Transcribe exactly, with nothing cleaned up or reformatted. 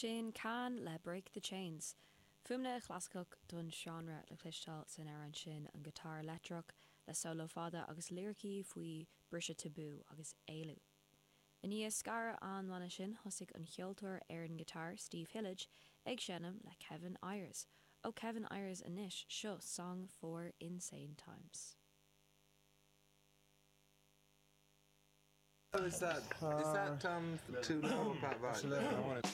Sin Can le Break the Chains. Fuaimna chlasach don seánra le cloisteáil san amhrán sin an giotár leictreach le solo fada agus liricí faoi briseadh tabú agus éalú. I ndiaidh scaradh an bhanna sin thosaigh an ceoltóir ar an guitar Steve Hillage ag seinm le Kevin Ayers. Ó Kevin Ayers anois seo Song for Insane Times. Oh, is that is that um too low about right?